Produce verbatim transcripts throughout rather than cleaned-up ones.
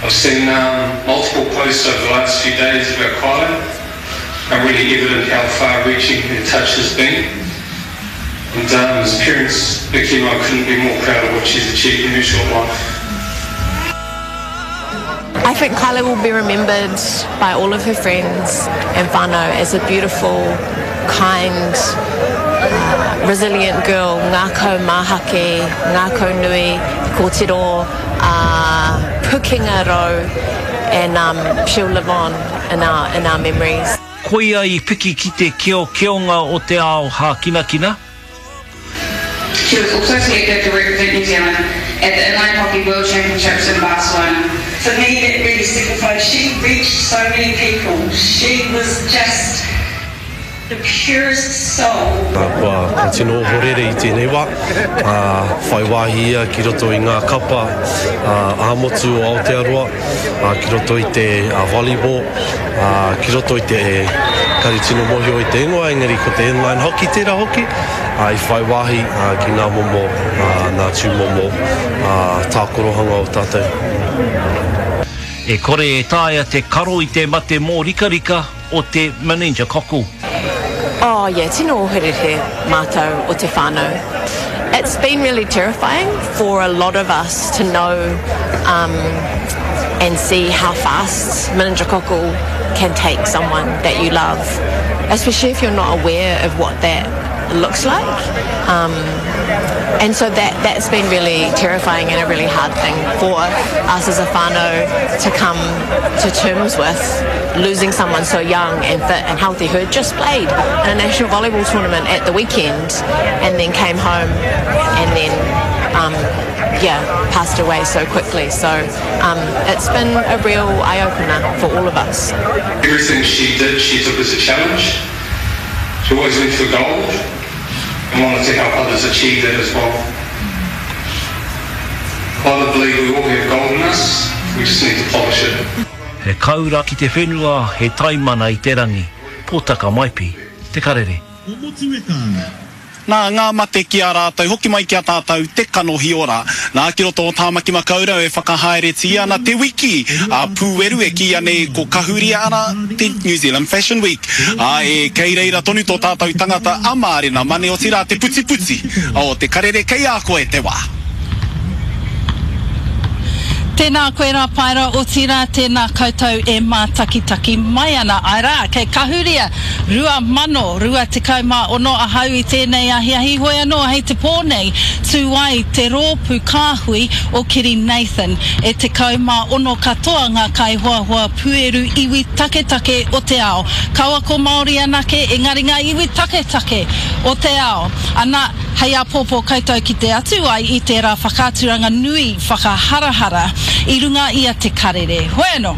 I've seen um, multiple posts over the last few days about Kylie and really evident how far-reaching her touch has been. And um, as parents, Vicky and I couldn't be more proud of what she's achieved in her short life. I think Kylie will be remembered by all of her friends and whānau as a beautiful, kind, uh, resilient girl, ngākau mahaki, ngākau nui, kōtiro, uh, pukenga rau, and um, she'll live on in our, in our memories. Koia i piki ki te keo keonga o te ao hākinakina. She was also selected to represent New Zealand at the Inline Hockey World Championships in Barcelona. For me, that really signified she reached so many people. She was just the purest soul. Kua, kua tino ohorere i tēnei wā, ā, whai wāhi ia ki roto i ngā kapa ā-motu o Aotearoa, ā, ki roto i te volleyball, ā, ki roto i te, kare tino mōhio i te ingoa, engari ko te inline hockey tērā hoki, ā, i whai wāhi ki ngā momo, ā, ngā tūmomo, ā, tākorohanga o tātou. E kore e taea te karo i te mate mōrikarika o te meningococcal. Oh yeah, tino ohorere mātou o te whānau. It's been really terrifying for a lot of us to know um, and see how fast meningococcal can take someone that you love, especially if you're not aware of what that looks like. Um, and so that, that's been really terrifying and a really hard thing for us as a whānau to come to terms with, losing someone so young and fit and healthy who had just played in a national volleyball tournament at the weekend and then came home and then um, yeah, passed away so quickly. So um, it's been a real eye-opener for all of us. Everything she did, she took as a challenge. She always went for gold and wanted to help others achieve that as well. I believe we all have gold in us, we just need to polish it. He kaura ki te whenua, he taimana i te rangi. Pōtaka Maipi, Te Karere. Nā ngā mate ki a rātou, hoki mai ki a tātou te kanohi ora. Nā ki roto o Tāmaki Makaurau e whakahaeretia ana te wiki a pūeru e kīia nei ko Kahuria ana te New Zealand Fashion Week. Ā, e kei reira tonu tō tātou tangata a Mārena Mane, otirā te putiputi o Te Karere kei a koe te wā. Tēnā koe rā Paera, otirā tēnā koutou e mātakitaki mai ana. Āe rā, kei Kahuria rua mano rua tekau mā ono ahau i tēnei ahiahi, hoi anō hei te pō nei tū ai te rōpū kāhui o Kiri Nathan. E tekau mā ono katoa ngā kaihoahoa pūeru iwi taketake o te ao. Kaua ko Māori anake, engari ngā iwi taketake o te ao. Ana, hei āpōpō koutou kite atu ai i tērā whakaaturanga nui whakaharahara i runga i a Te Karere. Hoi anō,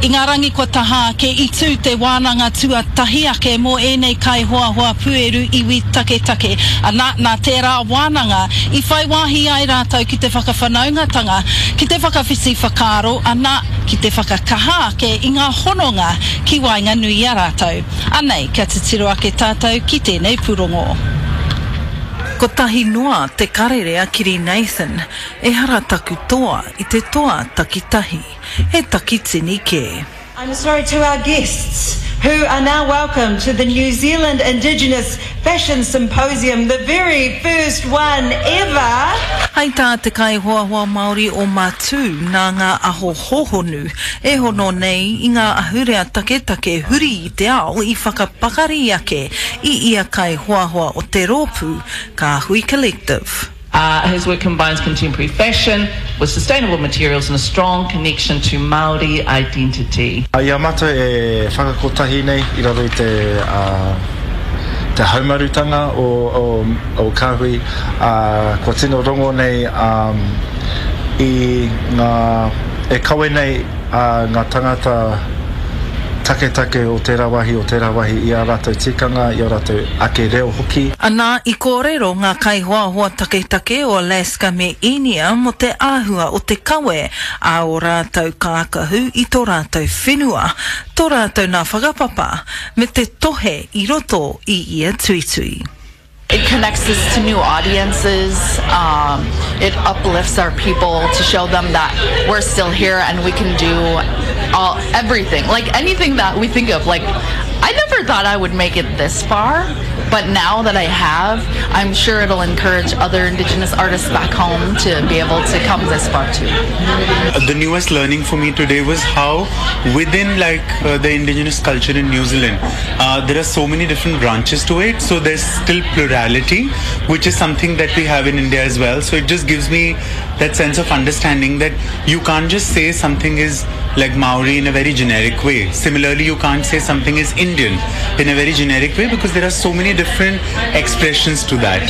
i ngā rangi kua taha ake i tū te wānanga tuatahi ake mō ēnei kaihoahoa pūeru iwi taketake. Ana, nā tērā wānanga i whai wāhi ai rātou ki te whakawhanaungatanga, ki te whakawhiti whakaaro, ana, ki te whakakaha ake i ngā hononga ki waenganui i a rātou. Anei, kia titiro ake tātou ki tēnei pūrongo. Kotahi noa te karere a Kiri Nathan, ehara taku toa i te toa takitahi, he takitini kē. I'm sorry to our guests who are now welcome to the New Zealand Indigenous Fashion Symposium, the very first one ever. Hei tā te kaihoahoa Māori o Matū nā ngā aho hōhonu e hono nei i ngā ahurea taketake huri i te ao i whakapakari ake i ia kaihoahoa o te rōpū Kāhui Collective. Uh, his work combines contemporary fashion with sustainable materials and a strong connection to Māori identity. I a mātou e whakakotahi nei i raro i te, uh, te haumarutanga o, o, o Kāhui, uh, kua tino rongo nei um, i ngā, e kawe nei uh, ngā tangata taketake o tērā wāhi, o tērā wāhi i ā rātou tikanga, i ō rātou ake reo hoki. Anā, i kōrero ngā kaihoahoa taketake o Alaska me Īnia mō te āhua o te kawe a ō rātou kākahu i tō rātou whenua, tō rātou nā whakapapa, me te tohe i roto i ia tuitui. It connects us to new audiences. Um, it uplifts our people to show them that we're still here and we can do all everything, like anything that we think of. Like, I never thought I would make it this far, but now that I have, I'm sure it'll encourage other Indigenous artists back home to be able to come this far too. The newest learning for me today was how within like uh, the indigenous culture in New Zealand, uh, there are so many different branches to it. So there's still plurality, which is something that we have in India as well. So it just gives me that sense of understanding that you can't just say something is like Maori in a very generic way. Similarly, you can't say something is Indian in a very generic way because there are so many different expressions to that.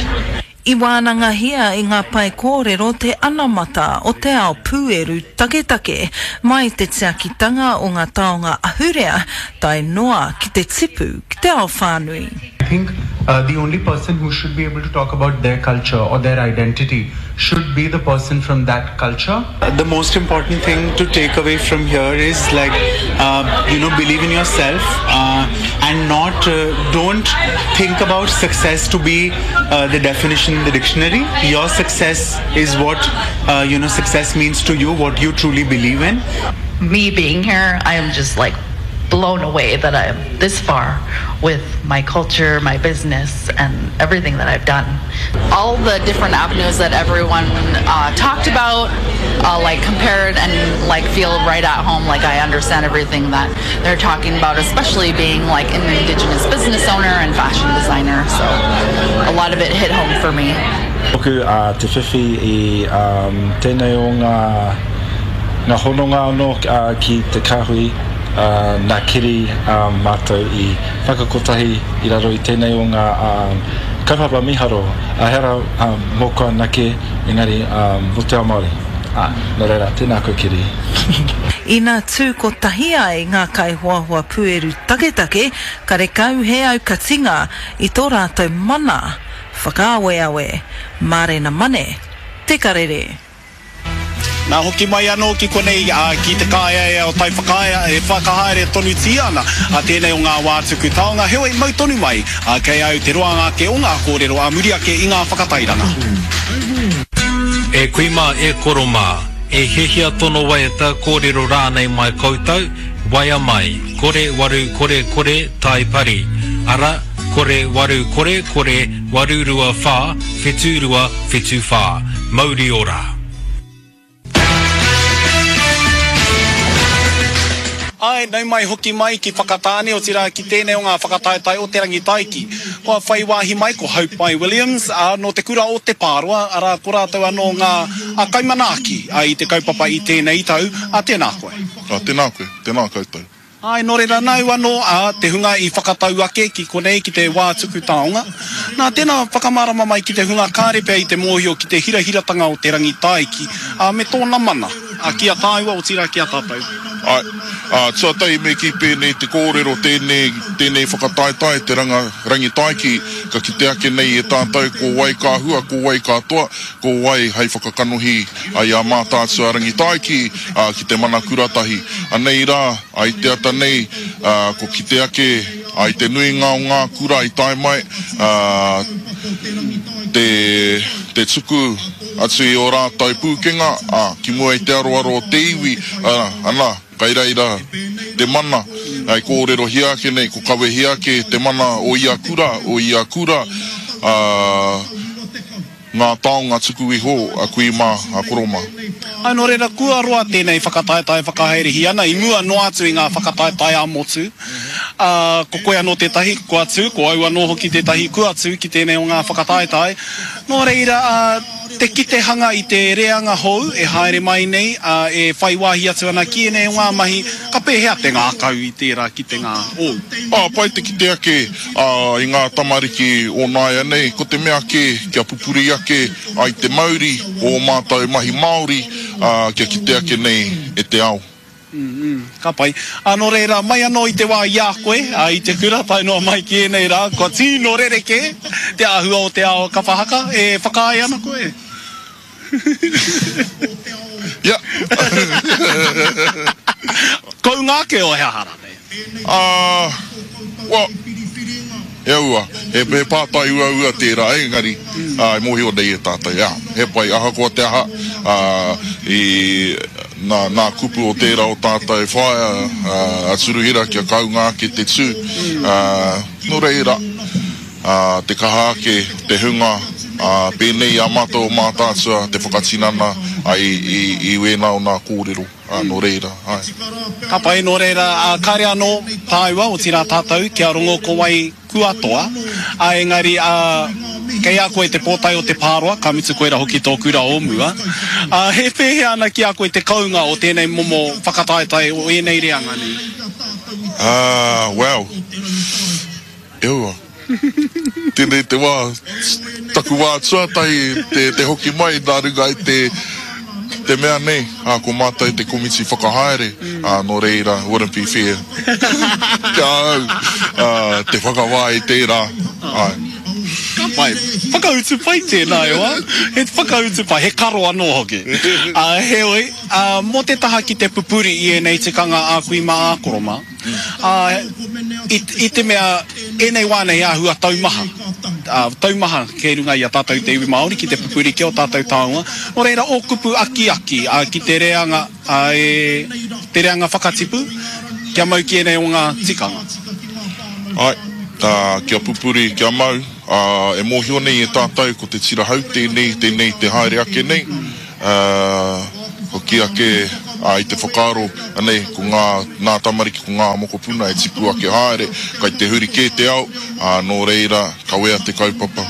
I wānangahia i ngā pae kōrero te anamata o te ao pūeru taketake, mai te tiakitanga o ngā taonga ahurea, tae noa ki te tipu ki te ao whānui. I think uh, the only person who should be able to talk about their culture or their identity should be the person from that culture. The most important thing to take away from here is like, uh, you know, believe in yourself uh, and not, uh, don't think about success to be uh, the definition in the dictionary. Your success is what, uh, you know, success means to you, what you truly believe in. Me being here, I am just like blown away that I'm this far with my culture, my business, and everything that I've done. All the different avenues that everyone uh, talked about, uh, like compared and like feel right at home, like I understand everything that they're talking about, especially being like an Indigenous business owner and fashion designer. So a lot of it hit home for me. Moku uh, te whiwhi i um, tēnei o ngā, ngā hononga anō uh, ki te kāhui uh, nā Kiri um, mātou i whakakotahi i raro i tēnei o ngā um, kaupapa miharo. A hera um, mōku anake, engari um, mō te ao Māori. Ah, nō reira, tēnā koe Kiri. Ina tū kotahi ai ngā kaihoahoa pūeru taketake, karekau he aukatinga i tō rātou mana, whakaaweawe, Mārena Mane, Te Karere. Nā hoki mai anō ki konei uh, ki te kāeaea o Taiwhakaea e whakahaere tonutia ana a tēnei o ngā wā tuku taonga. Heoi mau tonu mai uh, kei au te roanga ake o ngā kōrero a muri ake i ngā whakatairanga. E kui mā, e koro mā, e hiahia tono waiata kōrero rānei mai koutou, waea mai, kore waru kore kore tai pari. Ara, kore waru kore kore waru rua whā, whitu rua whitu whā. Mauri ora. Ai, nau mai hoki mai ki Whakatāne, otirā ki tēnei o ngā whakataetae o Te Rangitaiki. Kua whai wāhi mai ko Haupai Williams, ā, nō te kura o Te Pāroa, arā ko rātou anō ngā a kaimanaaki a, i te kaupapa i tēnei tau, a tēnā koe. A, tēnā koe, tēnā koutou. Ai, nō reira nau anō a te hunga i whakatau ake ki konei ki te wā tuku taonga. Nā, tēnā whakamārama mai ki te hunga kāre pea i te mōhio ki te hirahiratanga o Te Rangitaiki, a, me tōna mana, a, ki a tāua, otirā ki a tātou. Ai, a, tuatahi me kī pēnei te kōrero tēnei, tēnei whakataetae te ranga, Rangitaiki, ka kite ake nei e tātou ko wai ka hua, ko wai ka toa, ko wai hei whakakanohi ai a Mātaatua Rangitaiki a, ki te mana kuratahi. Anei rā, ai te ata nei, a, ko kite ake ai te nuinga o ngā kura i tae mai, a, te, te tuku atu i o rātou pūkenga, a, ki mua i te aroaro o te iwi, a, ana, kai reira te mana, ai kōrerohia ake nei, ko kawehia ake te mana o ia kura, o ia kura, a, ngā taonga tuku iho a kui mā, a koro mā. Ai, nō reira, kua roa tēnei whakataetae whakahaerehi ana, i mua noa atu i ngā whakataetae a motu. Uh, ko koe anō tētahi, kua tū, ko au anō hoki tētahi, kua tū ki tēnei o ngā whakataetae. Nō reira, uh, te kitehanga i te reanga hou e haere mai nei, uh, e whai wāhi atu ana ki ēnei o ngā mahi, ka pēhea te ngākau i tērā kitenga ōu? Ah, pai te kite ake uh, i ngā tamariki o nāia nei, ko te mea ake kia pupuri ake ai te mauri o mātou mahi Māori, uh, kia kite ake nei e te ao. Mm, mm, ka pai. A, nō reira, mai anō i te wā i a koe, a, i te kura, tae noa mai ki ēnei rā, kua tino rerekē te āhua o te ao kapa haka, e whakaae ana koe? Ia. Kounga ake o he aha rānei? Uh, well, e E aua, he, he pātai uaua tērā, engari, ā, e mōhio nei e tātou, ā, he pai, ahakoa te aha, ā, i nā, nā kupu o tērā o tātou whaea, ā, a Turuhira kia kounga ake te tū, ā, nō reira, ā, te kaha ake te hunga, ā, pēnei i a mātou o Mātaatua te whakatinana, ā, i, i, i wēnā o nā kōrero. Ā, nō reira, āe. Ka pai, nō reira, ā, kāre anō tāua, otirā tātou, kia rongo ko wai kua toa, ā, engari, ā, kei a koe te pōtae o te pāroa, ka mutu koira hoki tō kura o mua. Ā, he pēhea ana ki a koe te kounga o tēnei momo whakataetae o ēnei reanga nei? Ā, well, e aua. Tēnei te wā, taku wā tuatahi te, te hoki mai nā runga i te, te mea nei, ā, ko mātou te komiti whakahaere, ā, nō reira, wouldn't be fair ki a au, ā, te whakawā i tērā, āe. Ka pai. Whakautu pai tēnā e hoa. He whakautu pai, he karo anō hoki. Ā, heoi, ā, mō te taha ki te pupuri i ēnei tikanga ā kui mā ā koro mā, Ā, i, i te mea, ēnei wā nei āhua taumaha, ā, taumaha kei runga i a tātou te iwi Māori ki te pupuri ki ō tātou taonga. Nō reira, ō kupu akiaki, ā, ki te reanga, ā, e, te reanga whakatipu, kia mau ki ēnei o ngā tikanga. Āe, ā, kia pupuri, kia mau, ā, e mōhio nei e tātou ko te tira hau tēnei, tēnei te haere ake nei, ā, hoki ake ā, i te whakaaro, anei, ko ngā, nā tamariki, ko ngā mokopuna e tipu ake haere, kai te huri kē te ao, ā, nō reira, kawea te kaupapa.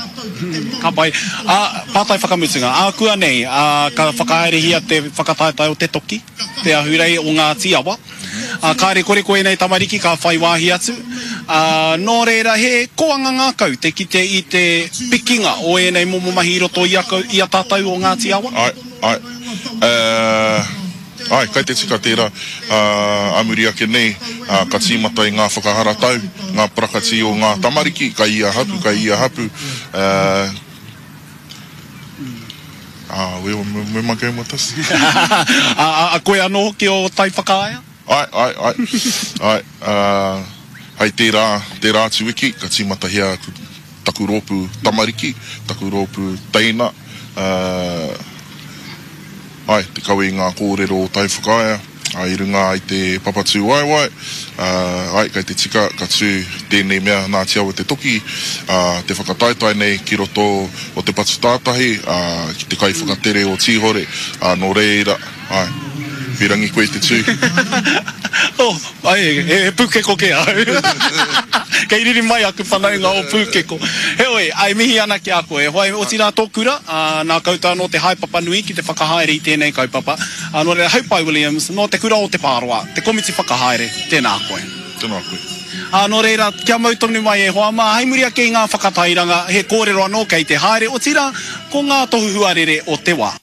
Ka pai. Ā, pātai whakamutunga, ākuanei, ā, ka whakahaerehia te whakataetae o te toki, te ahurei o Ngāti Awa. Ā, kāre kore ko ēnei tamariki ka whai wāhi atu. Ā, nō reira, he koanga ngākau te kite i te pikinga o ēnei momo mahi i roto i a, i a tātou o Ngāti Awa. Āe, āe. Ā, āe, kai te tika tērā. Ā, ā muri ake nei, ā, ka tīmata i ngā whakaharatau, ngā parakati o ngā tamariki, kai ia hapu, kai ia hapu. Ā, ā, where, where am I going with this? Ā, ā, koe anō hoki o Taiwhakaea? Āe, āe, āe, āe, ā, hei tērā, tērā atu wiki, ka tīmatahia aku, taku rōpū tamariki, taku rōpū teina, ā, āe, te kawe i ngā kōrero o Taiwhakaea, ā, i runga i te papa tūwaewae, ā, āe, kei te tika ka tū tēnei mea nā Te Awa Te Toki, ā, te whakataetae nei ki roto o Te Patu Tātahi, ā, ki te kaiwhakatere o Tīhore, ā, nō reira, Ae. Pirangi koe te tū. Oh, ae, he pūkeko kē ahau. Kei riri mai aku whanaunga o Pūkeko. Heoi, ae mihi ana ki a koe. Whai, otirā tō kura, ā, nā koutou anō te haepapa nui ki te whakahaere i tēnei kaupapa. Ā, nō reira, Haupai Williams, nō Te Kura o Te Pāroa, te komiti whakahaere, tēnā koe. Tēnā koe. Ā, nō reira, kia mau tonu mai e hoa mā, hei muri ake i ngā whakatairanga, he kōrero anō kei te haere, otirā, ko ngā tohu huarere o te wā.